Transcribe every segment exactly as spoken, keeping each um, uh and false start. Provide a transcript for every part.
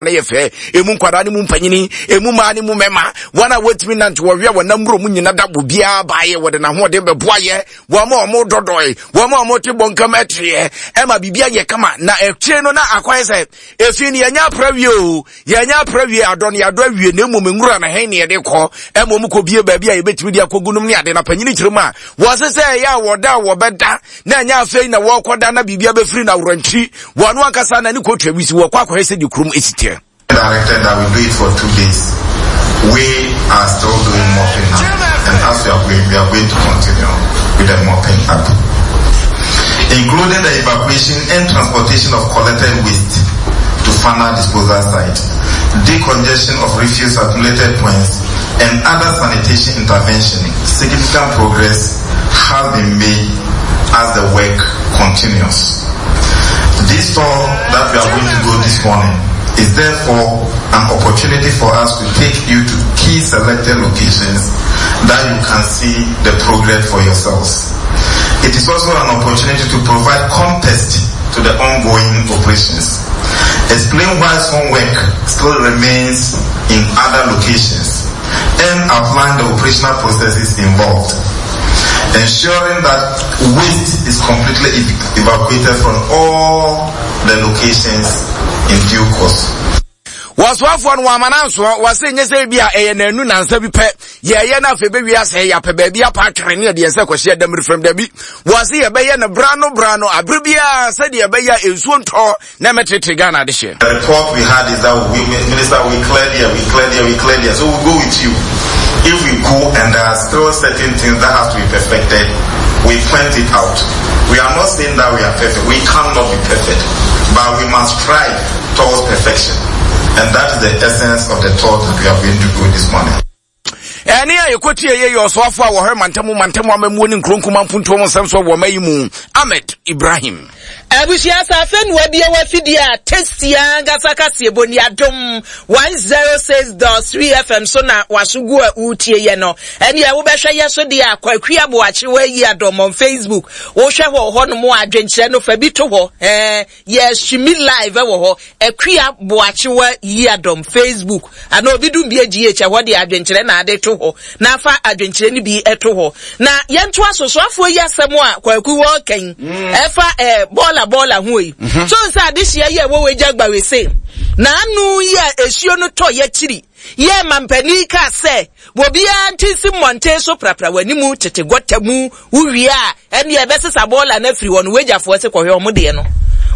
Na yɛ fɛ emu nkwadaa ne mu mpanyini, emu mmaa ne mu mmarima, wɔn a wɔntumi nante, wɔwia wɔn nam mu nyina da obiara baayɛ, wɔde n'ahoɔden bɛboa yɛ wɔn a wɔn dɔdɔe, wɔn a wɔn te bɔnkam ɛteɛ, ɛma biribi ayɛ kama. Na akyire no na akɔyɛ sɛ efi no yɛnyɛ apra wie o, yɛnyɛ apra wie, adɔ no yɛadɔ awie, na mmom nwura na hɛn ne yɛde kɔ ɛma wɔn kɔ bie baabi a yɛbɛtumi de akɔgu nom ne ade. Na panyini kyerɛ mu a wɔse sɛ ɛyɛ a wɔda a wɔbɛda na ɛnyɛ afei na wɔrekɔda na biribi abɛfiri na aworɔntwi wɔn ankasa na ne kɔtwa wi si wɔkɔ akɔhwɛ sɛ de kurom esi teɛ. Directed that we do it for two days. We are still doing mopping up, and as we are going, we are going to continue with the mopping up, including the evacuation and transportation of collected waste to final disposal site, decongestion of refuse accumulated points, and other sanitation intervention. Significant progress has been made as the work continues. This tour that we are going to go this morning is therefore an opportunity for us to take you to key selected locations that you can see the progress for yourselves. It is also an opportunity to provide context to the ongoing operations, explain why some work still remains in other locations, and outline the operational processes involved, ensuring that waste is completely ev- evacuated from all the locations in due course. Wɔsoafoɔ no wɔama no ansoɔ, wɔse nyɛ sɛ bi a ɛyɛ nanu nansa bi pɛ yɛyɛ no, afei bɛwie asɛ yɛapɛ baabi apa atwere ne yɛde yɛn sɛ kɔhyɛ damiri fam. Dabi, wɔse yɛbɛyɛ no bra no bra no abere biara sɛdeɛ ɛbɛyɛ a nsuo ntɔ na ɛmɛtete Ghana de hyɛ. The report we had is that we, Minister, we cleared here, we cleared here, we cleared here. So we go with you. If we go and there are still certain things that have to be perfected, we point it out. We are not saying that we are perfect. We cannot be perfect. But we must strive towards perfection. And that is the essence of the thought that we are going to go this morning. Ɛne a yɛkɔtie yɛ yɛ ɔsoafoɔ a wɔhwɛ mantamu mantamu amamuo ne nkuro nkuma mpuntuo mu nsɛm so wɔ ɔma yi mu, Ahmed Ibrahim. Abusua safe no abie wafidie a tasty ankasa kaseɛ bɔ ni Adom one oh six point three F M so na waso gu a wotie yɛ no. Ɛneɛ wobɛhwɛ yɛ so deɛ a, Kwaku Aboakye wayi adɔm on Facebook. Wohwɛ hɔ hɔ nom a, adwenkyerɛ no fa bi to hɔ. Ɛɛ yɛ stream live wɔ hɔ, Akua Boakyewa yi adɔm Facebook ana obi dum bi agh ɛhɔ de adwenkyerɛ na ade to hɔ na afa adwenkyerɛ no bi to hɔ. Na yɛnto asosoafoɔ yi asɛm a Kwaku wɔ kɛn ɛfa ɛɛ bɔɔla bɔɔla ho yi so nsa adehyia yi a ɛwɔ wɔ gya gbawese na ano yi a esuo no tɔ yɛkyiri yɛ mampanin kaa sɛ obiara nti si mmɔnten so prapra w'anim tete gɔta mu, wowie a ɛne ɛbɛsesa bɔɔla no afiri hɔ no, wagyafoɔ se kɔhwɛ ɔmo deɛ no,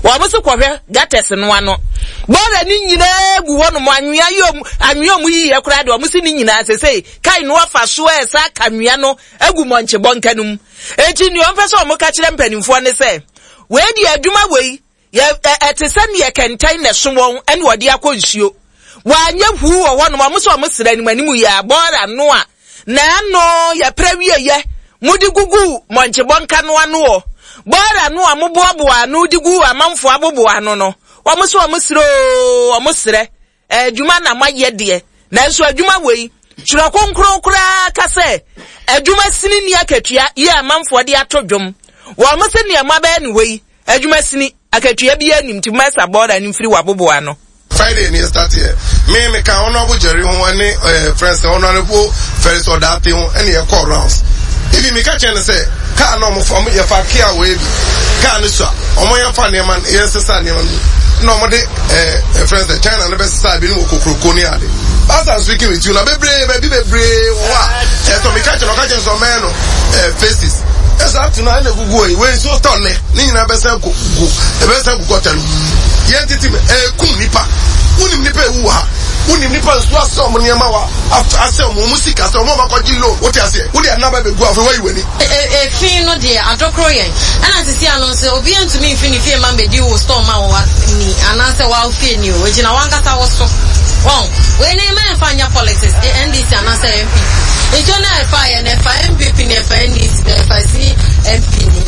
wɔn se kɔhwɛ gutters no ano, bɔɔla no nyinaa gu hɔ nom, anwea yi ɔmo anwea ɔmo yi yɛ koraa deɛ, ɔmo si ne nyinaa sese kai no afa so ɛsa aka anwea no agu mɔnkye bɔnka no mu. Eti nea ɔmpɛ sɛ ɔmo ka kyerɛ mpanimfoɔ ne sɛ wei deɛ, adwuma wei yɛ ɛ ɛte sɛ neɛ kɛntɛn na ɛso wɔn ɛna wɔde akɔ nsuo wanyɛ huu wɔ hɔnom. Ɔmo sɛ ɔmo srɛ anim anim yɛ a bɔɔla no a n'ano yɛpɛrɛ wie yɛ mode gugu mɔnkye bɔnka no ano wɔ bɔɔla no a moboaboa ano de gu amanfoɔ aboboa ano no, wɔn sɛ wɔn srɛ oo, wɔn srɛ adwuma na moayɛ deɛ, nanso adwuma wei twerɛ Kronkron koraa ka sɛ adwuma sini ni akatua yɛ amanfoɔ de ato dwom. Wɔn sɛ nneɛma bɛyɛ ne wei adwuma sini akatua bi anim nti mɛsa bɔɔla no mfiri w'aboboa ano. Friday ni start yɛ, me me ka Honourable Jerry ho ɛne ɛɛ friends Honourable Felix Ɔdaate ho ɛne yɛ call rounds. Ebi mi ka kyerɛ no sɛ kaa na ɔmo fa ɔmo yɛ fa kia wɔ ebi kaa no so a ɔmo yɛn fa nneɛma yɛn sesa nneɛma no na ɔmo de ɛɛ ɛ friends sɛ China no bɛ sesa ebi no wɔ kokoroko ne ade. As I'm speaking with you na bebree baabi bebree wɔ hɔ a ɛsɛ mi ka kyerɛ no, ɔka kyerɛ no sɛ ɔmɛyɛ no ɛɛ phases. Ɛsɛ ato na ɛna egugu hɔ yi, wei nsuo tɔ nnɛ ne nyinaa bɛsɛn ko gu ɛbɛsɛn gu gɔta no yɛn titi mi ɛɛkum nipa. Wunim nipa ewu wɔ ha, wunim nipa nsuo asɛ ɔmo nneɛma wa asɛ ɔmo ɔmo sika sɛ ɔmo ɔmo akɔgye loan, wote aseɛ, wode anaba bɛgu afei wayi w'ani. Efi no deɛ adɔkorɔ yɛn ɛna sisi ano nso obi ntumi nfi ne fie ma mbɛdi wo store ma wo ni anaasɛ wa fie ni o, egyina wankasa wo so wɔn wei ne mɛ nfa nyɛ politics, N D C anaasɛ N P P. Nsuo na ɛfa yɛ na ɛfa N P P na ɛfa N D C na ɛfa C M P ni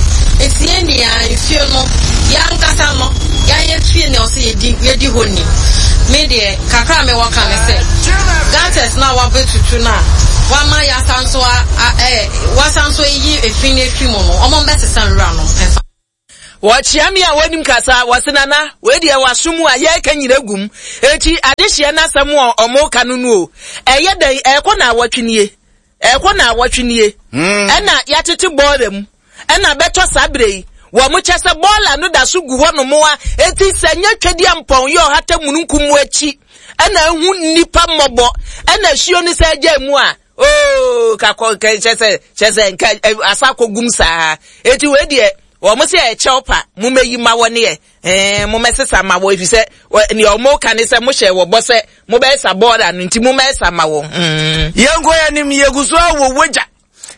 eti yɛn nia nsuo no yankasa no yɛayɛ fie na ɔsɛ yɛdi yɛdi hɔ ni. Me deɛ kakra mi wɔ ka ne sɛ gutters na wabɛtutu na wama yasa nso a ɛɛ wasa nso eyi efi na efi mu no, ɔmo mbɛsesa nwura no ɛfa. Wɔkyea me a wɔnim kasa, wɔse Nana, wei deɛ w'aso mu a yɛreka nyina gum, enti adehyeɛ no asɛm a ɔmo ka no no o, ɛyɛ dɛn, ɛrekɔ naawɔtwe nie, ɛrekɔ naawɔtwe nie, ɛna yɛatete bɔɔla mu, ɛna bɛtɔ saa berɛ yi, wɔn kyɛ sɛ bɔɔla no da so gu hɔ nom a, enti sɛ nyɛ twɛdeɛ mpɔn yɛ ɔhata mununkum mu akyi, ɛna ehu nnipa mmɔbɔ, ɛna asuo no sɛ agya mu a, oo, kakɔ, kyɛ sɛ, kyɛ sɛ, nka asa akɔgum saa, enti wei deɛ, wɔn sɛ ɛkyɛw pa mo mɛyi ma wɔ neɛ ɛɛ mo mɛsesa ma wɔ efi sɛ nea wɔn ka ne sɛ mo hyɛ wɔ bɔ sɛ mo bɛyɛ sa bɔɔla no nti mo mɛsa ma wɔ. Yɛn kɔ yɛn nim yɛgu so wɔ wagya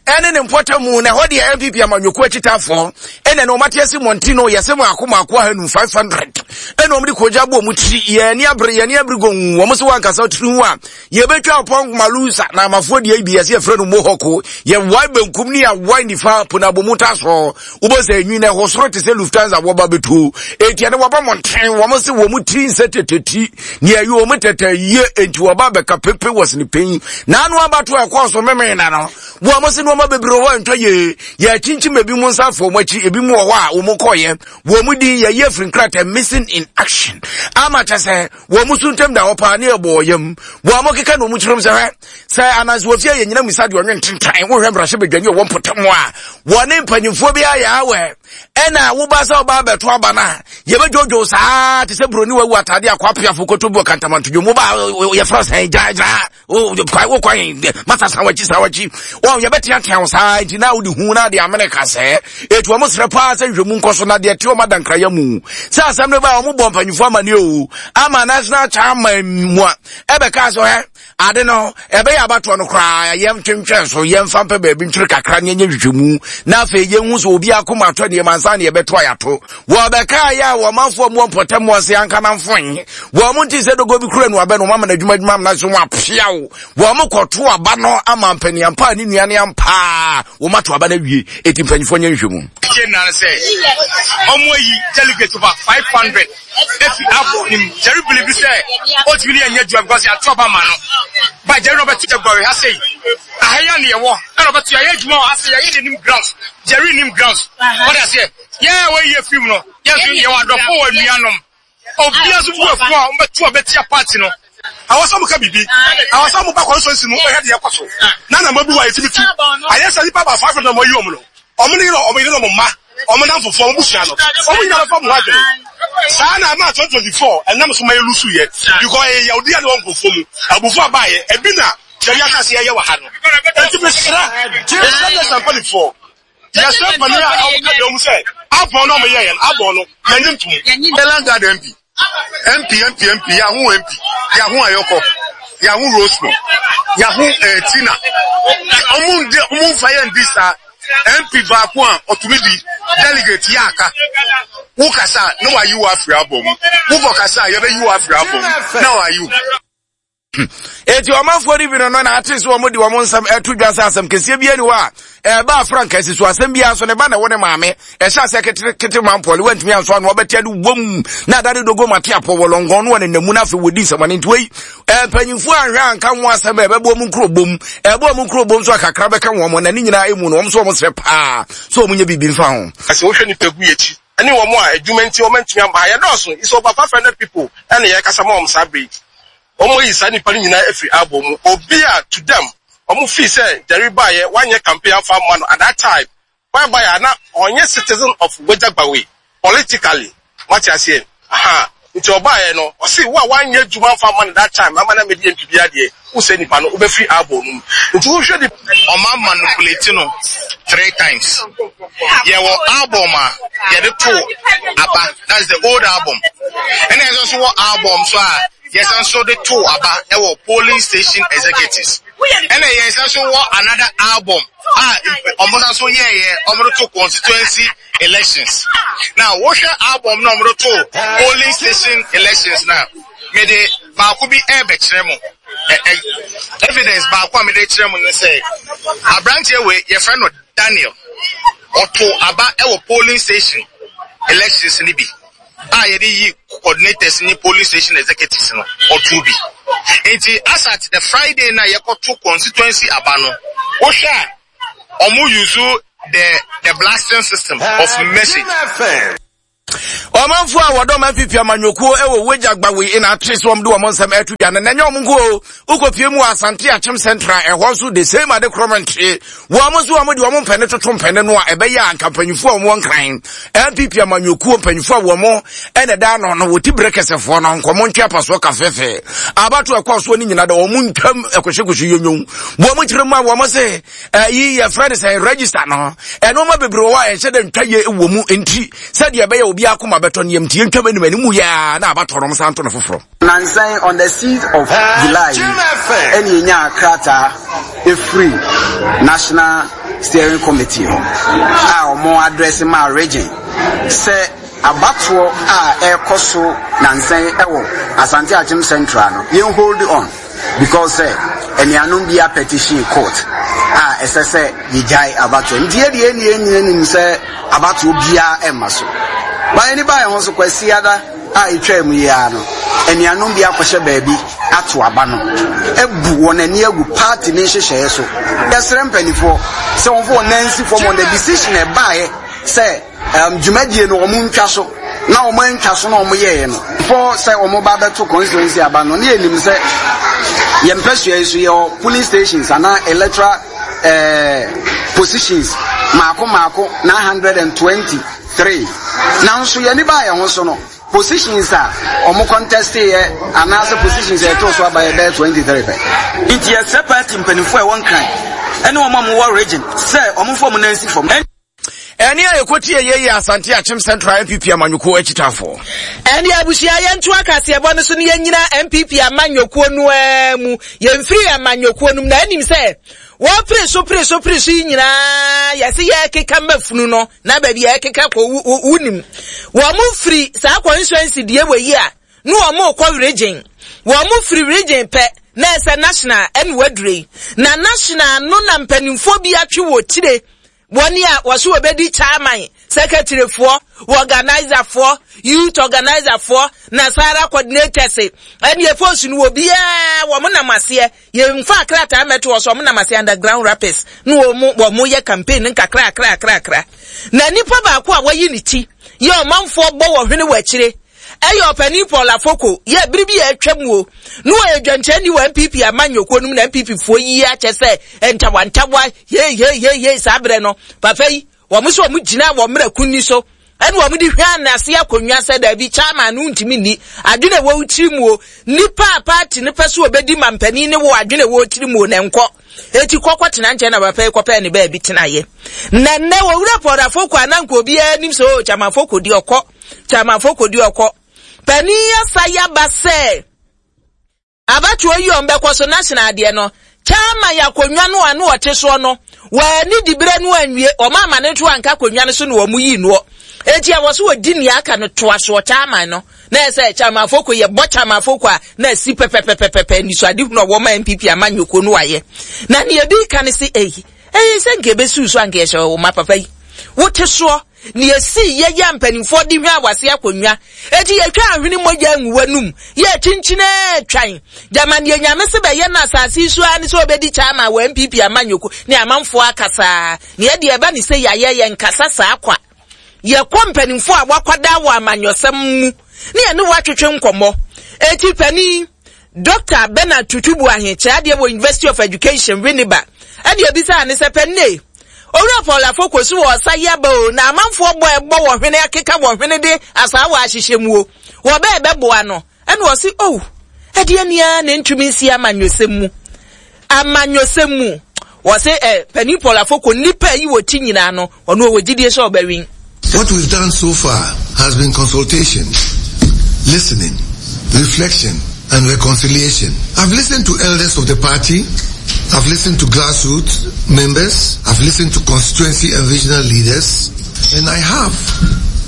ɛne ne mpɔtam mu na ɛhɔ deɛ N P P amanyɔkuo akyitaafoɔ ɛna na wɔn ate ase mmɔnten no yɛsɛ mako mako ahanum five hundred ɛna wɔn de kogya bɔ wɔn tiri yɛn ani abere yɛn ani abere gongu wɔn sɛ wɔn ankasa tiri ho a yɛbɛtwa pɔn malusa na amafoɔ deɛ bi yɛsɛ yɛfrɛ no mohawk yɛwae benkum ne yɛwae nifa ponabomu ta so wobɔ sɛ enwi na ɛhɔ soro te sɛ Lufthansa wɔba bɛtuo eti ɛne wɔba mmɔnten wɔn sɛ wɔn tiri nsɛ teteti ne ɛyɛ wɔn tete yie enti wɔba bɛka pepe wɔ sene panyin na ano abato ɛkɔɔ so memee na no wɔn sɛ nneɛma bebree hɔ ntɔ yie yɛkyinkyim ebi mu nsa afɔ wɔn akyi ebi mu wɔ hɔ a wɔn kɔɔyɛ wɔn mu din yɛyɛ afiri nkrataa missing in action ama kyɛ sɛ wɔn mu so ntɛm da hɔ paa ne ɛbɔ ɔyam wɔn mo keka na wɔn kyerɛm sɛ hwɛ sɛ anansi wɔ fie yɛ nyina misa deɛ ɔnwe ntentan wohwɛ mmarahyɛ badwani ɔwɔ mpɔtam a wɔne mpanyinfoɔ bi ayɛ awɛ ɛna woba sɛ ɔba abɛto aba no a yɛbɛdwodwo saa te sɛ buroni wawu atade akɔ apiafo kɔtɔ bi wɔ kantamantodwo mu ba yɛfrɛ sɛn gyaagyaa wo kwan masa san wakyi san wakyi wɔn yɛbɛteatea wo saa nti na wode hu na de amene ka sɛ ɛtu wɔn serɛ paa sɛ nhwɛmu nkɔ so na deɛ te wɔn adankrayɛ mu sɛ asɛm no ba wɔn bɔ mpanyinfoɔ amane o ama national chairman mu a ɛbɛka sɛ ɛ ade no ɛbɛyɛ abatoɔ no koraa yɛn twentwɛn so yɛmfa mpɛ baabi ntwere kakra ne yɛnyɛ nhwehwɛmu na afei yɛnhu sɛ obi akoma atɔ nneɛma ansa ne yɛbɛto ayato wɔbɛka yɛ a wɔmanfoɔ mu mpɔtam wɔ se anka namfoe wɔn mo nti sɛ dogo bi kura no abɛ no wɔn ama no adwuma adwuma amena so wɔn apia wo wɔn mo kɔto aba no ama mpanyinampa ne nua ne ampa wɔn ato aba no awie eti mpanyinfoɔ nyɛ nhwehwɛmu. Kyɛ na sɛ ɔmo ayi delegate over five hundred efi abɔ nim Jerry believe sɛ otumi ne yɛnyɛ adwuma because yɛato aba ma no ba Jerry na ɔbɛto Jaguar ha sei ahaya ne yɛwɔ ɛna ɔbɛto yɛayɛ adwuma wɔ ha sei yɛayɛ de nim grounds Jerry nim grounds wɔde aseɛ yɛn a wɔyɛ film no yɛn nso yɛwɔ adɔfo wɔ nuanom obiara nso bu afu a ɔbɛto a bɛtia party no. Awɔ sɛ mo ka bibi awɔ sɛ mo ba constituency mu bɛhwɛ deɛ ɛkɔ so na na mo bi wɔ ayɛtumi tu ayɛ sɛ nipa ba five hundred na mo ayi wɔn no ɔmo ne yɛrɛ ɔmo yɛrɛ ɔmo mma ɔmo nan fufuo ɔmo busua no ɔmo nyinaa bɛfa mo adwene saa na ama twenty twenty four ɛnam so ma yɛ lusu yɛ because ɛyɛ yawudi a ne wɔn nkurɔfoɔ mu abufu abaayɛ ebi na yɛde asase yɛyɛ wɔ ha no eti mesrɛ mesrɛ yɛ sampanifoɔ yɛsrɛ mpanin a ɔmo ka deɛ ɔmo sɛ abɔn na ɔmo yɛ yɛn abɔn no yɛn nye ntum. Elangard M P M P M P M P Yahoo M P Yahoo Ayoko Yahoo Rosmo Yahoo eh, Tina ɔmo ndi ɔmo nfa yɛn di saa M P baako a ɔtumi di delegate yɛ aka wo kasa na wayi wo afiri abɔ mu wokɔ kasa yɛbɛyi wo afiri abɔ mu na wayi wo. Eti ɔmanfoɔ no bi no no na ate sɛ wɔn de wɔn nsɛm ɛto dwa sɛ asɛm kɛseɛ bi ani hɔ a ɛba afranka si so asɛm bi nso ne ba na ɛwɔ ne maame ɛhyɛ asɛ kete kete mampɔle wantumi anso ano ɔbɛte ade wom na adade dogo mate apɔ wɔ lɔngɔn no wɔ ne namu na afei wɔdi nsɛmɔne nti wei mpanyinfoɔ anhwɛ anka ho asɛm a ɛbɛbɔ mu nkuro bom ɛbɔ mu nkuro bom so akakra bɛka wɔn na ne nyinaa emu no wɔn nso wɔn srɛ paa so wɔn nyɛ biribi mfa ho. Ɛsɛ wohwɛ nipa gu akyi ɛne wɔn a adwuma nti wɔn ntumi amba ha yɛdɔɔso it's over five hundred people ɛna yɛkasa ma wɔn saa bere wɔn yi saa nipa no nyinaa afiri abɔ mu obi a to them wɔn fi sɛ Jerry baayɛ wanyɛ campaign afa ama no at that time whereby a na ɔnyɛ citizen of Weija-Gbawe politically wate aseɛ aha nti ɔbaayɛ no ɔsi wo a wanyɛ adwuma afa ama no that time ama na medi M P bi adeɛ wosɛ nipa no wobɛfiri abɔ no mu nti wohwɛ ni ɔma manipulate no three times yɛwɔ album a yɛde to aba that's the old album ɛna yɛn nso wɔ album so a yɛsan so de to aba ɛwɔ polling station executives ɛna yɛsan so wɔ another album a ɔmo san so yɛɛyɛ ɔmo de to constituency elections now wohwɛ album na ɔmo de to polling station elections na mede baako bi ɛɛbɛkyerɛ mo ɛ ɛ evidence baako a mede kyerɛ mo ne sɛ aberanteɛ wei yɛfrɛ no Daniel ɔto aba ɛwɔ polling station elections ni bi a yɛde yi coordinators ni polling station executives no ɔto bi nti as at the Friday na yɛkɔto constituency aba no wohwɛ a ɔmo use the the blasting system of message. Ɔmanfoɔ a wɔdɔm N P P amanyɔkuo wɔ Weija Gbawe na ate sɛ wɔn de wɔn nsɛm ɛto dwa no, na ɛnyɛ wɔn nko o. Wokɔpie mu wɔ Asante Akyem Central, ɛhɔ nso the same ade korɔ nte. Wɔn nso wɔn de wɔn mpɛne toto mpɛne no a ɛbɛyɛ a nka mpanyinfoɔ a wɔn wɔ Nkran N P P amanyɔkuo, mpanyinfoɔ a wɔn ɛna ɛda ano no, wɔti berɛ kɛsɛfoɔ no nkɔmɔ ntwe apasoɔ ka fɛfɛ abato ɛkɔ soɔ no nyina da wɔn ntwam ɛkɔhyɛkɔhyɛ yonyom. Wɔn kyerɛ mu a wɔn se ɛyi yɛfrɛ no sɛ register no, ɛnɔɔma bebree wɔ hɔ a ɛnhyɛ dɛ ntwa yie wɔ mu, nti sɛdeɛ ɛbɛyɛ obi akoma bɛtɔ no yam nti yɛntwam anim anim yɛa na abatɔ no san to no foforɔ. Nansan on the sixth of July yi ɛne yɛnya krataa ɛfiri National Steering Committee hɔ a ɔmo address ma region sɛ abatoɔ a ɛrekɔ so nansan ɛwɔ Asante Akyem Central no, yɛn hold on because sɛ anuanom bi a petition court a ɛsɛ sɛ yɛgyae abatoɔ. Nti yɛde yɛn yɛn nyina nim sɛ abatoɔ biara ɛmma so ba. Yɛn ba yɛn ho so Kwasiada a etwa mu yi ara no, anuanom bi akɔhyɛ baabi ato aba no ebu wɔn ani agu party ne nhyehyɛeɛ so. Yɛsrɛ mpanimfoɔ sɛ wɔn fo wɔn nan si fam on the decision ɛbaeɛ sɛ um, dwumadie no wɔn ntwa so na wɔn ntwa so na wɔn yɛɛ no fɔ sɛ wɔn ba bɛto constituency aba no. Ne yɛnim sɛ yɛn mpɛsua yi so yɛwɔ polling stations anaa electoral eh, positions maako maako nine hundred and twenty three, nanso yɛn ba yɛn ho so no, positions a wɔn contest yɛ anaasɛ positions a yɛto so aba yɛ bɛyɛ twenty three pɛ. Nti yɛsrɛ party mpanimfoɔ a ɛwɔ Nkran ɛne wɔn a wɔwɔ region sɛ ɔmomfa wɔn nan si fam. Ɛne a yɛkɔtie yɛyɛ Asante Akyem Central N P P amanyɔkuo akyitafoɔ. Ɛne abusua, yɛnto akaseɛbɔ no so no, yɛnyina N P P amanyɔkuo no ara mu. Yɛmfiri amanyɔkuo no mu na anim sɛ wɔpere so pere so pere so yi nyinaa, yɛse yɛkeka mafunu no na baabi a yɛkeka kɔ wonim. Wɔn mo firi saa constituency deɛ wɔ yi a ne wɔn mo kɔ region, wɔn mo firi region pɛ na ɛsɛ national. Ɛne wadure yi na national no na mpanimfoɔ bi atwe wɔ tire wɔne a wɔso wɔbɛdi chairman, secretaryfoɔ, organiserfoɔ, youth organiserfoɔ na sara coordinators. Ɛne ɛfɔsu no wɔ biara wɔn nam aseɛ, yɛmfa krataa mɛto wɔ so, wɔn nam aseɛ underground rappers ne wɔn wɔn yɛ campaign nkakra kakra kakra. Na nipa baako a wɔyi ne ti yɛ ɔmanfoɔ bɔ wɔ hwene wɔ akyire ɛyɛ ɔpanin Paul Afoko. Yɛ bere bi a atwa mu o ne wɔyɛ dwankyɛnni wɔ N P P amanyɔkuo no mu na N P P foɔ yi akyɛ sɛ ntawantawa yeyeyeye. Saa berɛ no papa yi wɔn nso wɔn gyina wɔ mmerɛ kunni so ɛna wɔn de hwɛ anase akonnwa sɛ daabi, chairman no ntumi nni adwene ɛwɔ tiri mu o, nipa a party no pɛ so obɛdi ma mpanin ne wɔ adwene ɛwɔ tiri mu o na nkɔ eti kɔkɔ tena nkyɛn. Na papa yi kɔpɛɛ ne baabi tenaeɛ na nnɛ wɔwura Paul Afoko a na nka obiara anim sɛ o chairman Afoko di ɔkɔ, chairman Afoko di ɔkɔ. Panin asa yaba sɛ abatoɔ yi ɔn bɛkɔ so national adeɛ no, chairman yɛ akonnwa no a no ɔte soɔ no, wɔani dibere no anwie, ɔmo ama ne to anka akonnwa no so na wɔn yi noɔ. Eti a wɔso wɔdi nea aka no toa soɔ chairman no na ɛsɛ chairman Afoko yɛ bɔ chairman Afoko a na asi pɛpɛpɛpɛpɛ nisuade hunu a wɔma N P P amanyɔkuo no ayɛ. Na nea ebi ka ne se eyi eyi sɛ nka ebesi so anka yɛhyɛ wɔn ma papa yi wote soɔ nea esi yɛyɛ mpanimfoɔ de hwɛ awase akonnwa eti yɛtwa ahwene mogya ngu w'anum yɛ kyinkyinɛ twan gyama nea Nyame se bɛyɛ no asase yi so ara ne sɛ ɔbɛdi chairman wɔ N P P amanyɔkuo ne amanfoɔ akasaa. Nea ɛdeɛ ɛba ne sɛ yɛayɛ yɛn kasa saa kwa, yɛkɔ mpanimfoɔ a wakɔda wɔ amanyɔsɛm mu ne yɛne wɔatwetwe nkɔmmɔ. Eti panin Doctor Bernard Tutu Buahe kyerɛ adeɛ wɔ University of Education Winneba, ɛde ebisa ne sɛ, "Panne Owura Paul Afoko so wɔ ɔsa yaba o na amanfoɔ bɔ ɛbɔ wɔ hwene akeka wɔ hwene de asaa wɔ ahyehyɛ mu o wɔbɛɛ bɛboa no?" Ɛna ɔsi, "Oh, ɛdeɛ nia na ntumi nsi amanyɔsɛm mu amanyɔsɛm mu." Wɔsi ɛ panin Paul Afoko nipa yi wɔ ti nyinaa no, ɔno ɔwɔ gyidie sɛ ɔbɛwin. What we've done so far has been consultation, listening, reflection, and reconciliation. I've listened to elders of the party, I've listened to grassroots members, I've listened to constituency and regional leaders, and I have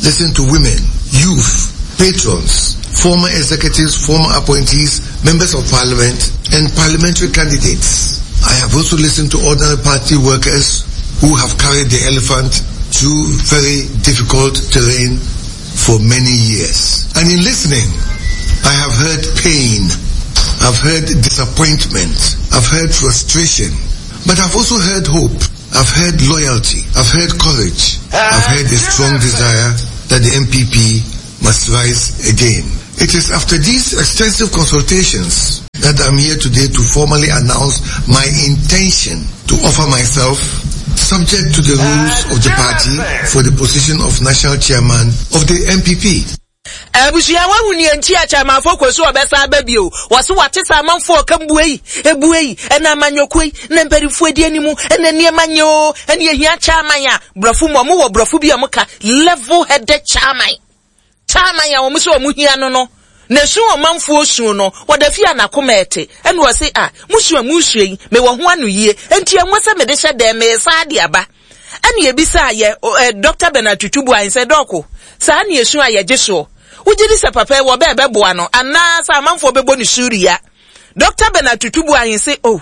listened to women, youth, patrons, former executives, former appointees, members of parliament, and parliamentary candidates. I have also listened to ordinary party workers who have carried the elephant through very difficult terrain for many years. And in listening, I have heard pain, I've heard disappointment, I've heard frustration, but I've also heard hope, I've heard loyalty, I've heard courage, I've heard a strong desire that the N P P must rise again. It is after these extensive consultations that I'm here today to formally announce my intention to offer myself, subject to the rules of the party, for the position of national chairman of the N P P. Abusua, wahu nea nti a Chairman Afoko so ɔbɛsa aba bio. Wɔse wate sɛ amanfoɔ ɔka mbue yi ebue yi ɛna amanyɔkuo yi na mpanimfoɔ adi anim ɛna nneɛma nyɛ o, ɛna ehia chairman a borɔfo mu ɔmo wɔ borɔfo bi a ɔmo ka level headed chairman, chairman a wɔn sɛ wɔn hia no no na esu ɔmanfoɔ su no wɔda fi a n'akoma ɛte. Ɛna wɔse a musu a musu yi mewɔ ho ano yie, nti ɛnwo sɛ mede hyɛ dɛm mesa ade aba. Ɛna ebisa yɛ ɛ Doctor Bernard Tutu Boahen sɛ, Doc, saa ne esu a yɛgye soɔ, wogye di sɛ papa yi wɔ bɛɛ bɛboa no anaa sɛ amanfoɔ bɛbɔ ne suria? Doctor Bernard Tutu Boahen sɛ, oh,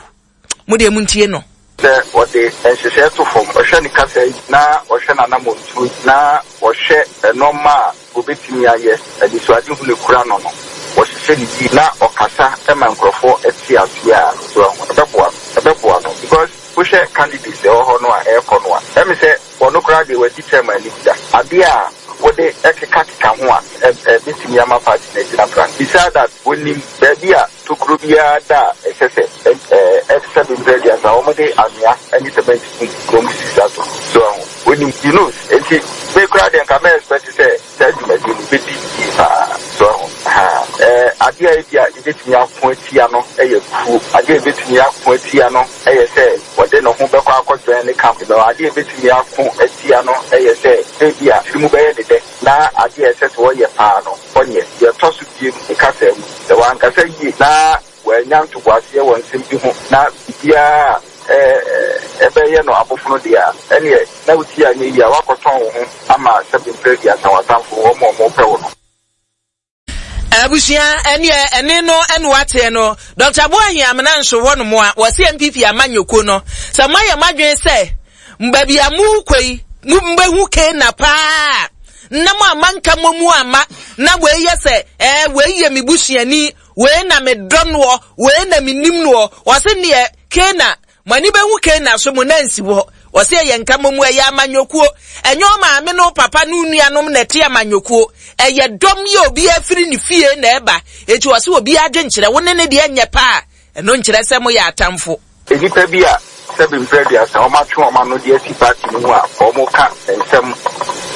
mo deɛ montie no. Sɛ wɔde nhyehyɛe to fam, ɔhwɛ ne kasa yi na ɔhwɛ n'anammɔntuo na ɔhwɛ nneɛma a obetumi ayɛ, anisoadehu ne kura no no wɔhyehyɛ ne yie na ɔkasa ma nkurɔfoɔ te aseɛ a, so ɛbɛboa no ɛbɛboa no because wohwɛ candidates ɛwɔ hɔ no a ɛrekɔ no a, ɛmi sɛ wɔn koraa deɛ wɔadi chairman anim da adeɛ a wɔde ɛkekakeka ho a ɛbɛtumi ama party no agyina pra. Beside that, wɔnim baabi a tokuro biara da a ɛsɛ sɛ ɛɛ ɛsɛ bɛmpɛ aduasa wɔn de anwea ɛne cement gu kurom sisi ato so ɛho wɔnim, he knows. Nti me koraa deɛ, nka mɛ expect sɛ saa dwumadie no bɛdi yie paa so ɛho ha. ɛɛ adeɛ a ebi a yɛbɛtumi ako atia no ɛyɛ kuo, adeɛ a yɛbɛtumi ako atia no ɛyɛ sɛ wɔde ne ho bɛkɔ akɔdwɛn ne camp no, adeɛ a yɛbɛtumi ako atia no ɛyɛ sɛ ebi a tiri mu bɛyɛ ne dɛ na adeɛ a ɛsɛ sɛ wɔyɛ paa no ɔnyɛ. Deɛ ɛtɔ so biem, ne kasa mu sɛ wankasa yie na wɔanya ntoboaseɛ wɔ nsɛm bi ho na biribiara ɛɛ ɛbɛyɛ no abofono deɛ a, ɛneɛ na wotie anyɛ yie a, wakɔtɔn wo ho ama sɛbi mpɛ aduasa w'atamfo wɔn a wɔn pɛ wo no. Abusua, ɛneɛ ɛne no ɛne wateɛ no. Doctor Boahen Amena nso hɔ nom a wɔse N P P amanyɔkuo no sɛ moayɛ moadwene sɛ baabi a mokɔ yi mobɛhu kena paa na mo ama nka mo mu ama na wei yɛ sɛ ɛɛ wei yɛ me busuani, wei na me dɔ noɔ, wei na me nim noɔ. Wɔse neɛ kena mo ani bɛhu kena so mo nansi hɔ. Wɔse ɛyɛ nka mo mu, ɛyɛ amanyɔkuo, ɛnyɛ ɔmaame no papa no nuanom na ɛte amanyɔkuo, ɛyɛ dɔm yɛ obi afiri ne fie na ɛba. Eti wɔse obi adwenkyerɛ wo ne ne deɛ nyɛ paa, ɛno nkyerɛ sɛ moyɛ atamfo. Nnipa bi a sɛbi mpɛ aduasa wɔn atwe wɔn ano de asi party no mu a wɔn ka nsɛm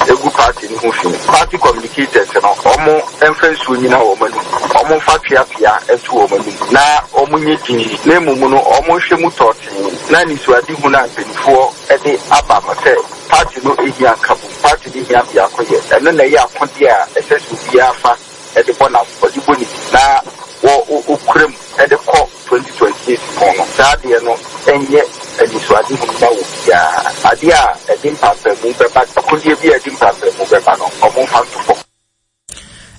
egu party no ho fi, party communicators no, wɔn mfa nsuo nyina wɔn anum, wɔn mfa tweapea nto wɔn anum na wɔn nyɛ din na emu no wɔn nhwɛ mu tɔɔtee na nisuadehu na mpanimfoɔ de aba no sɛ party no ehia nkabom, party no ehia biako yɛ. Ɛno na ɛyɛ akodeɛ a ɛsɛ sɛ obiara fa ɛde bɔ na ɔde bɔ ne ti na wɔ okura mu ɛde kɔ twenty twenty-eight pɔn no. Saa adeɛ no ɛnyɛ anisoadehu ma wɔ biara. Adeɛ a ɛde mpampamu bɛba, akodeɛ bi a ɛde mpampamu bɛba no, ɔmo mfa nto fam.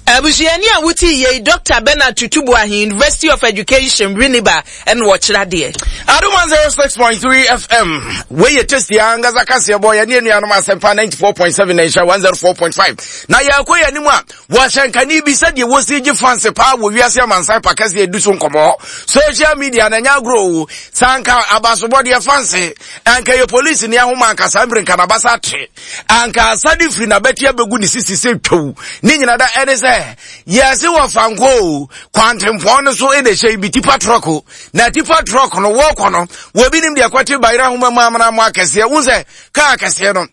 Abusuani a wote yei, Doctor Bernard Tutu Boahen, University of Education, Winneba, ɛna wɔkyerɛ adeɛ. Adom one oh six point three F M, wei yɛ tasty ankasa kaseɛ bɔ yɛne anuanom Asɛmpa ninety-four point seven na nhyɛ one oh four point five na yɛkɔ yɛ anim a wɔhyɛnkani bi sɛdeɛ wɔsi gye fans paa wɔ wiase amansan pa kɛseɛ ɛdu so nkɔmmɔ social media na ɛnyɛ agorɔ o. Sɛ anka abasobɔdeɛ fans anka yɛ polisi ne ahoma, anka saa mmere nka nabasa ate, anka asade firi n'abati abɛgu ne sisi sɛ twaw ne nyina da. Ɛne sɛ yɛse wɔ fanko o, kwantempɔn no so ɛna ɛhyɛ bi tipper truck o, na tipper truck no wɔkɔ no wɔbi nim deɛ kɔte bayerɛ ahoma mu amena mu akɛseɛ wo sɛ kaa akɛseɛ no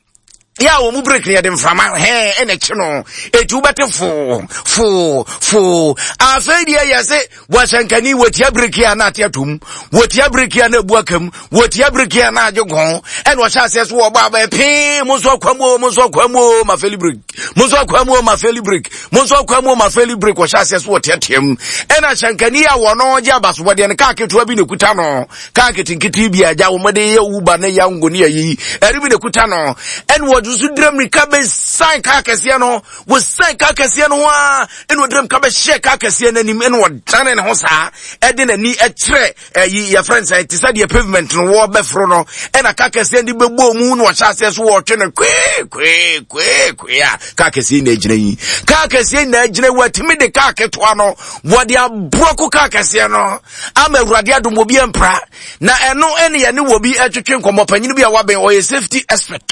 yɛ a wɔn mu brake no yɛde mframa hɛn ɛna ɛkyi no, etu wobɛte foo foo foo. Afei deɛ yɛse wɔhyɛnkani wɔtia brake a na ate atom, wɔtia brake a na ebu akam, wɔtia brake a na agye gɔn. Ɛna ɔhyɛ aseɛ so wɔbɔ abɛɛ pii, mo nso akwa mu o, mo nso akwa mu o, ma fail brake, mo nso akwa mu o, ma fail brake, mo nso akwa mu o, ma fail brake. Wɔhyɛ aseɛ so wɔteatea mu, ɛna hyɛnkani a wɔn gye abasobɔdeɛ no, kaa ketewa bi na ekuta no, kaa ketenkete bi a agya wɔn de yɛ Uber ne Yango ne ayi ɛre bi na ekuta no. Ɛna wɔde nso dira mirika bɛsan kaa kɛseɛ no, wɔsan kaa kɛseɛ no ho a, ɛna wɔdira mirika bɛhyɛ kaa kɛseɛ no anim, ɛna wɔdane ne ho saa ɛde n'ani ɛkyerɛ ɛyi yɛfrɛ no sɛ te sɛ deɛ pavement no wɔbɛforo no, ɛna kaa kɛseɛ no de bɛbɔ mu na wɔhyɛ aseɛ so wɔtwe no kwee kwee kwee kwee a kaa kɛseɛ na agyina yi, kaa kɛseɛ na agyina yi, wɔatumi de kaa ketewa no wɔde aborɔko kaa kɛseɛ no ama Awurade adom obi ampra. Na ɛno ɛne yɛne wɔ bi ɛtwetwe nkɔmmɔ, panyin bi a wabɛn, ɔyɛ safety expert,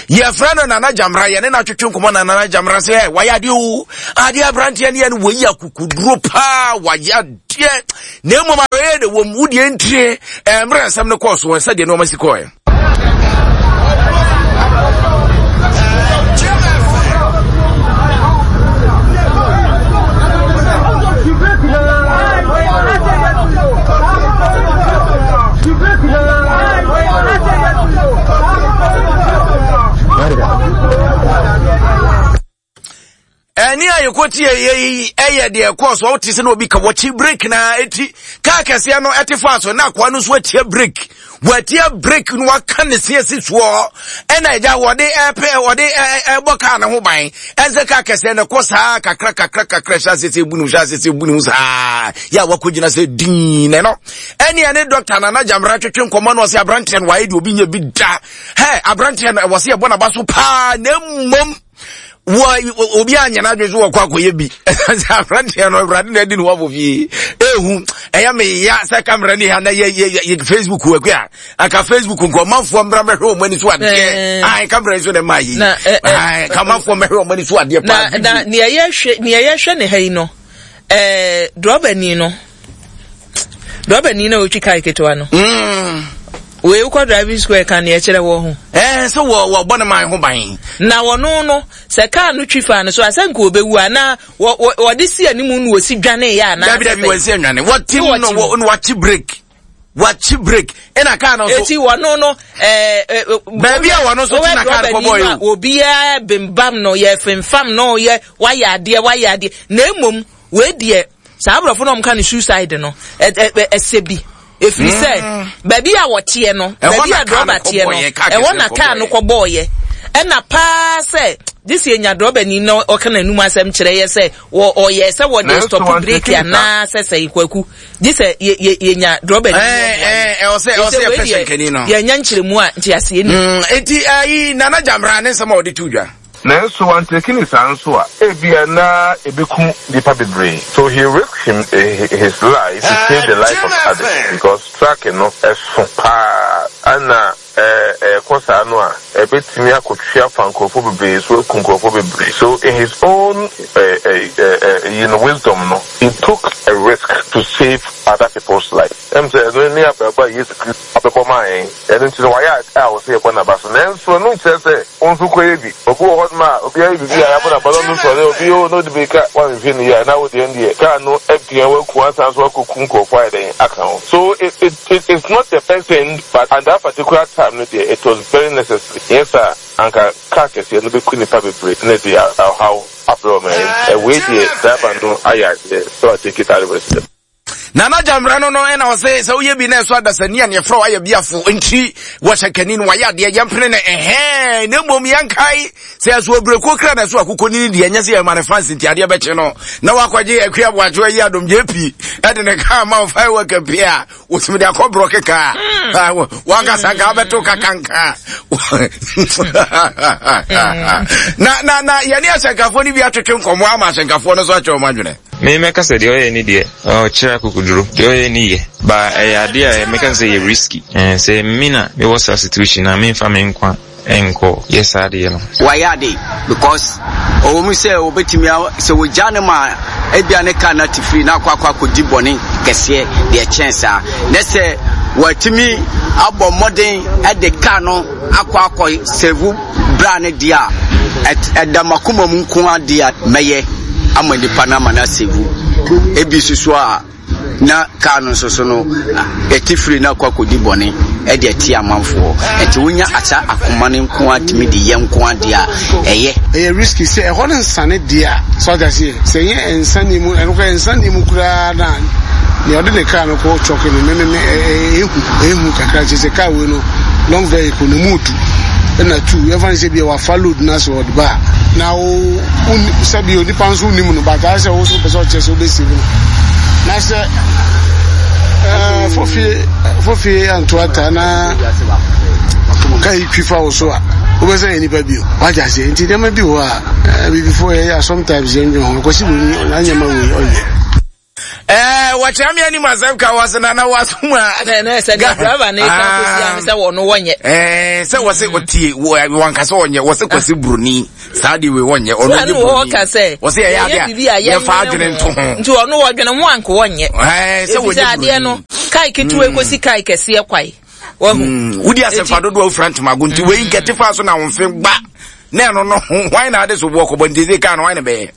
yɛfrɛ Yɛfrɛ no Nana Gyamra, yɛne no atwetwe nkɔmmɔ na Nana Gyamra sɛ wayɛ adeɛ o, adeɛ aberanteɛ ne yɛ no wɔyi akokoduro paa, wayɛ adeɛ na mmom awɛyɛ de wɔm wodeɛ ntire mmerɛ nsɛm no kɔɔ so wɔn sɛdeɛ nneɛma si kɔɛ. Ɛne a yɛkɔtie yɛyi ɛyɛ deɛ ɛkɔɔ so wote sɛ na obi ka wɔkyi break na ɛti kaa kɛseɛ no ɛte faa so na akoa no nso atia break, wɔatia break no waka ne se asi soɔ ɛna agya wɔde ɛpɛ wɔde ɛbɔ kaa ne ho ban ɛnsɛ kaa kɛseɛ no kɔ saa kakra kakra kakra hyɛ asese bu ne ho hyɛ asese bu ne ho saa yɛ a wakɔgyina sɛ dii na ɛno ɛne ɛne dɔkta Nana Gyamra twetwe nkɔmmɔ no ɔsɛ aberanteɛ no wayɛ deɛ obi nyɛ bi da hɛ aberanteɛ no ɛwɔ sɛ yɛbɔ n'aba so paa na mmom wɔ obi anya n'adwene so wɔkɔ akɔyɛ bi sɛ aberanteɛ no awurade na adi ne wafo fie ehu ɛyɛ me ya sɛ kamera ni ha na yɛ yɛ yɛ Facebook wɔ akua anka Facebook nka ɔmanfoɔ mmra mɛhwɛ wɔn ani so adeɛ ayi kamera yi so na ɛma yi ayi kamanfoɔ mɛhwɛ wɔn ani so adeɛ paa. Na na nea yɛhwɛ nea yɛhwɛ ne ha yi no ɛɛ drɔbani no drɔbani na otwi kaa ketewa no. Mm. Wei wokɔ driving school ɛka nea ɛkyerɛ wɔ ho. Ɛɛ sɛ wɔ wɔbɔ ne man ho ban. Na wɔno no sɛ kaa no twi fa no so asɛ nka obewu anaa wɔ wɔ wɔde si anim na wɔsi dwane yɛ anaa. Dabi dabi wɔsi anwane wɔte no wɔ no wakye break wakye break ɛna kaa no so. Eti wɔno no ɛɛ ɛɛ. Baabi a wɔno so ti na kaa no kɔbɔ yi o. Obiara bembam no yɛ fimfam no yɛ wayɛ adeɛ wayɛ adeɛ na emom wei deɛ saa aborɔfo na wɔn ka no suicide no ɛ ɛ ɛsɛ bi. Efiri sɛ baabi a wɔteɛ no baabi a drɔba teɛ no ɛhɔ na kaa no kɔbɔɔyɛ ɛna paa sɛ gye enya drɔba ni na ɔka n'anum asɛm kyerɛ yɛ sɛ wɔ ɔyɛ sɛ wɔde stop break anaa sɛ sɛ kwaku gye sɛ yɛ yɛ yɛnya drɔba ni. Ɛɛ ɛɛ ɔsɛ ɔsɛ yɛ pɛsɛ nkɛni no. Yɛnya nkyerɛmu a nti aseɛ ni. Eti ayi Nana Gyamra ne nsɛm a ɔde to dwa. Nanso wantake ne saa nso a ebia na ebeku nipa bebree. So he risked him his life to save the life of others because truck no ɛso paa ana ɛkɔ saa no a ebetumi akotwe afa nkurɔfoɔ bebree so aku nkurɔfoɔ bebree. So in his own uh, uh, uh, you know, wisdom no, he took a risk to save other people's life. Ɛm sɛ ɛno ne abrabɔ a Yesu Kristo abɛbɔ maa yɛn. Ɛno nti no wayɛ a wɔsɛ yɛbɔ n'aba so. Nanso ɛno nkyerɛ sɛ wɔn nso kɔyɛ bi. Obi wɔ hɔ nom a obi ayɛ biribi a yɛabɔ n'aba no no nsɔre obi o na ɔde mirika wanhwɛ ne yie a na wo deɛ deɛ kaa no abia waku asan so akɔku nkurɔfoɔ ayɛ dɛn aka ho. So it, it, it, it's not the best thing, but at that particular time no deɛ it was very necessary. Nyɛ saa anka kaa kɛseɛ no bɛku nipa bebree na de ɔhaw abrɛ ɔman yi. Ɛwei deɛ driver no ayɛ adeɛ so I take it out of it. Nana Gyamra no no ɛna ɔsɛ sɛ woyɛ bi na ɛso adasani a neɛfrɛ wayɛ biafo nti wɔhyɛ kani no wayɛ adeɛ yɛmpene no ɛhɛn na mmom yɛnkae sɛ ɛso aburekuo kra na ɛso akokɔ nini deɛ ɛnyɛ sɛ yɛma ne fans nti adeɛ bɛkye no na wakɔgye akua aboakyewa yi adom J P ɛde ne kaa ma wo firework pie a wotumi de akɔborɔ keka wankasa nka wobɛto kakanka na na na yɛne ahyɛnkafoɔ no bi atwetwe nkɔmmɔ ama ahyɛnkafoɔ no so akyerɛ wɔn adwene. Me mɛka sɛ deɛ ɔyɛ ni deɛ ɔkyerɛ akokoduro deɛ ɔyɛ ni yɛ ba ɛyɛ adeɛ a mɛka sɛ yɛ risky sɛ me na mewɔ saa situation na memfa me nkwa ɛnkɔ yɛ saa adeɛ no. Wayɛ ade because ɔwɔ mu sɛ wɔbɛtumi sɛ wɔgya ne ma ebia ne kaa na te firi na akɔ akɔ akɔdi bɔne kɛseɛ deɛ kyɛn saa na sɛ wɔatumi abɔ mmɔden ɛde kaa no akɔ akɔ sɛvu bra ne deɛ a ɛda makoma mu nko adeɛ a mɛyɛ ama nipa no ama no asɛvu ebi soso a na kaa no nso so no ɛte firi na akɔ akɔdi bɔne ɛde ɛte amanfoɔ ɛnti wonya asa akoma no nko atumi de yɛ nko adeɛ a ɛyɛ. Ɛyɛ risky sɛ ɛhɔ no nsane deɛ a so ɔda seɛ sɛ ɛnyɛ nsane mu ɛno koraa nsane mu koraa na nea ɔde ne kaa no kɔ twɔke no mememe ɛhu ɛhu kakra kyerɛ sɛ kaa wei no long vehicle no mu du ɛna two yɛmfa no sɛ bia wafa load no asɛ ɔde ba a na wo sɛbi onipa nso wonim no but ayɛ sɛ wo so wopɛ sɛ ɔkyerɛ sɛ wobɛsave no na sɛ fofie fofie anto ata na ka yi twi fa wo so a wobɛsɛ yɛ nipa bio wagya aseɛ nti nneɛma bi wɔ a bibifoɔ yɛyɛ a sometimes yɛndwen ho akwasi wei anyɛma wei ɔnyɛ. Eh, wɔkyerɛ me anim asɛm ka wɔ se nana wɔasom a na na sɛ ne driver ne ka kɔsi ame sɛ wɔno wɔnyɛ ɛɛ sɛ wɔ se ɔtie wɔnka sɛ wɔnyɛ wɔ se kwasi buroni saa de wei wɔnyɛ ɔno nyɛ buroni wɔ sɛ wɔ se yɛyɛ adeɛ a yɛfa adwene nto ho nti ɔno wɔdwene ho anko wɔnyɛ ɛɛ sɛ wɔnyɛ buroni adeɛ no kae ketewa kɔsi kae kɛseɛ kwae wahu wodi asɛmfa dodoɔ wofira ntomago nti wei nkɛte fa so na wo mfe gba na ɛno no hwan na ade so boɔ kɔbɔ nti sɛ kaa no hwan na bɛyɛ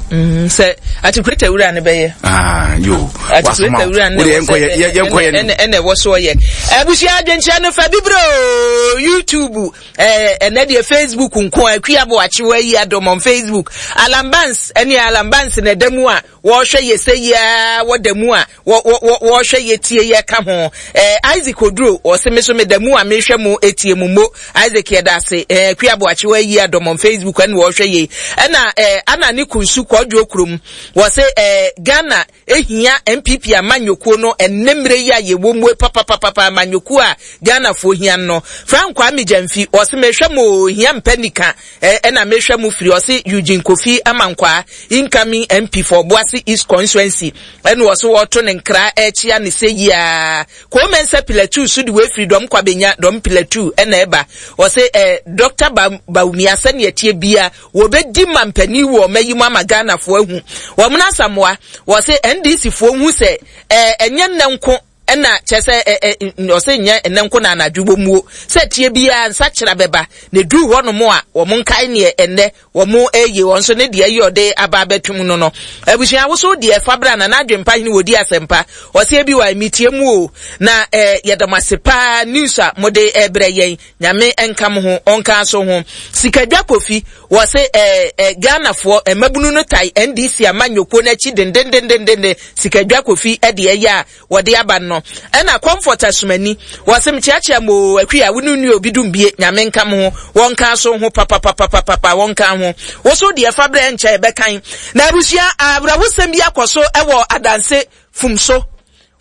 Mm, sɛ atikuleta wura no bɛyɛ. Ah, yo. Atikuleta wura no ɛna ɛna ɛwɔ so ɔyɛ. Abusua adwenkyerɛ no fa bibiro YouTube ɛɛ ɛnɛ deɛ Facebook nko a akua bo akyewa yi adɔm on Facebook. Alan Banks ɛne Alan Banks na ɛda mu a wɔrehwɛ yɛ sɛ yia wɔda mu a wɔ wɔ wɔrehwɛ yɛ tie yɛ ka ho. Ɛɛ Isaac Oduro ɔse me so me da mu a mehwɛ mu etie mu mo Isaac yɛ da ase ɛɛ akua bo akyewa yi adɔm on Facebook ɛna wɔrehwɛ yɛ ɛna ɛɛ ana ne kunsu kɔdwo kurom wɔse ɛɛ Ghana ehia N P P amanyokuo no ɛnɛmmerɛ yi a yɛwɔ mu papapapa amanyokuo a Ghanafoɔ hia no. Frank Kwame Gyamfi ɔse mehwɛ mo hia mpɛ nika ɛna mehwɛ mo firi ɔse Eugene Kofi Amankwaa incoming M P for Obuasi East constituency ɛna ɔse wɔto ne nkra ɛkyia ne sɛ yia Komensa Pillar two so de wefiri dɔm kwabenya dɔm Pillar two ɛna ɛba ɔse ɛ Doctor Bawumia sɛnea tie bia wɔbɛdi mampani wɔ ɔma yi mu ama Ghanafoɔ ahu wɔn n'asamoa wɔse N D C foɔ hu sɛ ɛɛ ɛnyɛ nnɛ nko ɛna kyɛ sɛ ɛ ɛ ɔse nyɛ nnɛ nko na anadwo bɔ muo sɛ tie bia nsa kyerɛ bɛba na duru hɔ nom a wɔn nkae neɛ ɛnnɛ wɔn ɛyɛ wɔn nso ne deɛ ɛyɛ ɔde aba abɛtum no no abusua woso deɛ fabra na n'adwempa hene wɔdi asɛmpa ɔse ebi wɔ emitie mu o na ɛɛ yɛdɔm ase paa news a mode ɛbrɛ yɛn nyame nka mo ho ɔnka so ho sikadwa kofi wɔse ɛɛ ɛ Ghanafoɔ mmabunu no tai N D C amanyɔkuo n'akyi dendendendenden sikadwa kofi ɛde ɛyɛ a wɔde aba no ɛna Comfort Asumani wɔse mkyeakyea mo akwi a wonu nua obi dum bie nyame nka mo ho wɔnka so ho papapapapapa wɔnka ho woso deɛ fa brɛ nkyɛ ɛbɛkan na abusua abrahosɛm bi akɔ so ɛwɔ adanse fumso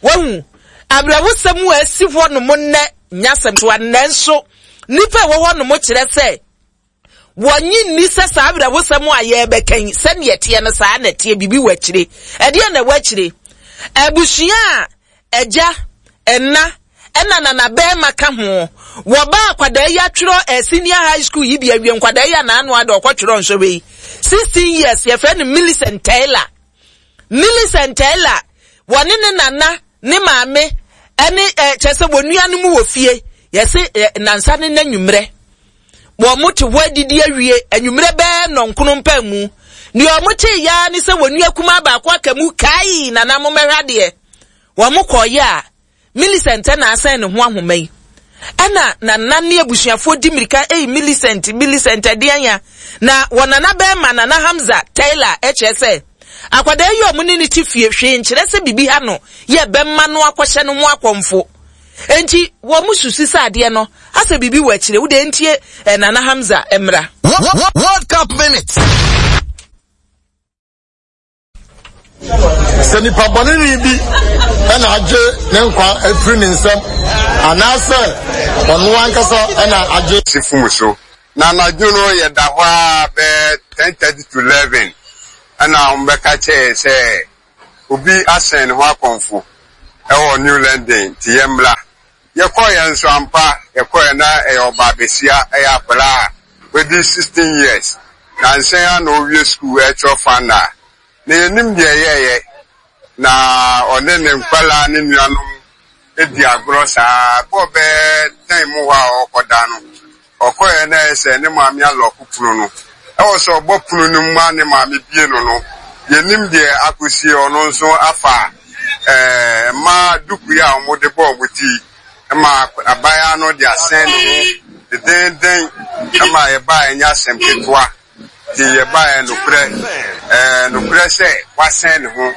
wahu abrahosɛm a asi hɔ no mo nnɛ nyasɛm so ananso nipa ɛwɔ hɔ no mo kyerɛ sɛ wɔnyi nni sɛ saa abrahosɛm a yɛbɛkan sɛneɛ teɛ no saa na teɛ bibi wɔ akyire ɛdeɛ na ɛwɔ akyire abusua a ɛgya ɛna ɛna nana bɛrima ka ho wɔba akwadaa yi atwerɛ senior high school yi bi awie nkwadaa yi anaano ade ɔkɔtwerɛ nso wei sixteen years yɛfrɛ no Millicent Taylor Millicent Taylor wɔne ne nana ne maame ɛne kyerɛ sɛ wɔn nuanom wɔ fie yɛse nansa ne n'anwummerɛ wɔn mo te hɔ adidi awie anwummerɛ bɛɛ nɔnkono mpa mu nea wɔn te ya ne sɛ wɔn nua kumaa baako aka mu kai nana mo mɛhwɛ adeɛ wɔn mo kɔɔyɛ a Millicent na asan ne ho ahoma yi ɛna nana ne abusuafoɔ di mirika ei Millicent Millicent ɛdeɛn ya na wɔn nana bɛrima nana Hamza Taylor ɛkyerɛ sɛ akwadaa yi a ɔmo ne ne ti fie hwee nkyerɛ sɛ bibi ha no yɛ bɛmma no akɔhyɛ no ho akɔmfo enti wɔn mo susi sɛ adeɛ no asɛ bibi wɔ akyire wode ntie nana Hamza mmra. World Cup minutes. Sɛ nipa bɔne bi ɛna agye ne nkwa afiri ne nsam anaasɛ ɔno ankasa ɛna agye. Si fum so na anadwo no yɛda hɔ a bɛɛ ten thirty to eleven ɛna wɔbɛka kyerɛ sɛ obi asɛn ne ho akɔmfo ɛwɔ New London nti yɛmmra yɛkɔɔ yɛn nso ampa yɛkɔɔ yɛn na ɛyɛ ɔbaa besia ɛyɛ akwadaa a wadi sixteen years na nsɛn a na owie school ɛkyerɛ fana na yɛnim deɛ ɛyɛɛyɛ na ɔne ne nkwalaa ne nuanom edi agorɔ saa bɔɔ bɛɛ ten mu hɔ a ɔkɔda no ɔkɔɛ na ɛyɛ sɛ ne maame alɔko pono no ɛwɔ sɛ ɔbɔ pono no mu a ne maame bie no no yɛnim deɛ akɔsie ɔno nso afa ɛɛ mmaa duku yi a wɔde bɔɔ wɔn ti ma abaayewa no de asɛn ne ho dendenden ma yɛbaa ɛnyɛ asɛm ketewa nti yɛbaa nokorɛ ɛɛ nokorɛ sɛ wasɛn ne ho.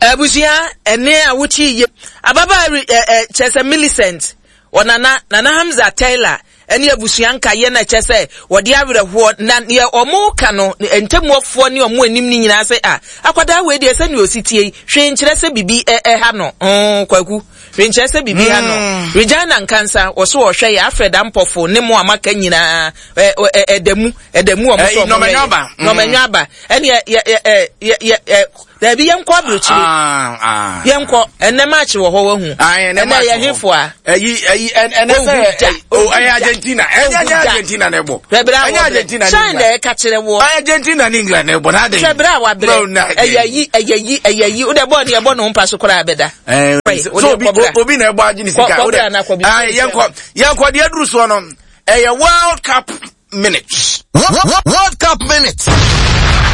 Abusua ɛne a wokyi yie ababaa ɛ ɛ kyerɛ sɛ Millicent ɔnana nana Hamza Taylor ɛne abusua nka yɛ na kyerɛ sɛ wɔde awerɛhoɔ na neɛ ɔmo ka no ntamuafoɔ ne ɔmo anim ne nyinaa sɛ a akwadaa wei deɛ sɛ nea osi tie yi hwee nkyerɛ sɛ bibi ɛha no mm kwaku Renkyerɛ sɛ biribi ha no. Regina Nkansa wɔ so wɔhwɛ yɛ Alfred Ampɔfo ne mo a maka nyinaa ɛda mu ɛda mu wɔn so wɔn hwɛ yɛ. Nɔmɛnwa aba. Ɛne yɛ yɛ yɛ yɛ yɛ daabi yɛnkɔ aburokyire. Yɛnkɔ ɛnɛ match wɔ hɔ wahu. Ɛnɛ yɛ hefo a. Ɛyi ɛyi ɛnɛ sɛ ɛyɛ Argentina ɛnyɛ ɛnyɛ Argentina na ɛbɔ. Ɛnyɛ Argentina ne England. Hyɛn na ɛka kyerɛ wɔ. Argentina ne England na ɛbɔ n'ade. Hwɛ bere a wabrɛ. Ɛyɛ yi ɛyɛ yi ɛyɛ yi o de bɔɔl ne ɛbɔ ne ho mpa so koraa bɛda. So obi obi na ɛbɔ agye ne sika o de yɛnkɔ yɛnkɔ deɛ aduru soɔ no ɛyɛ World Cup minutes. World Cup minutes.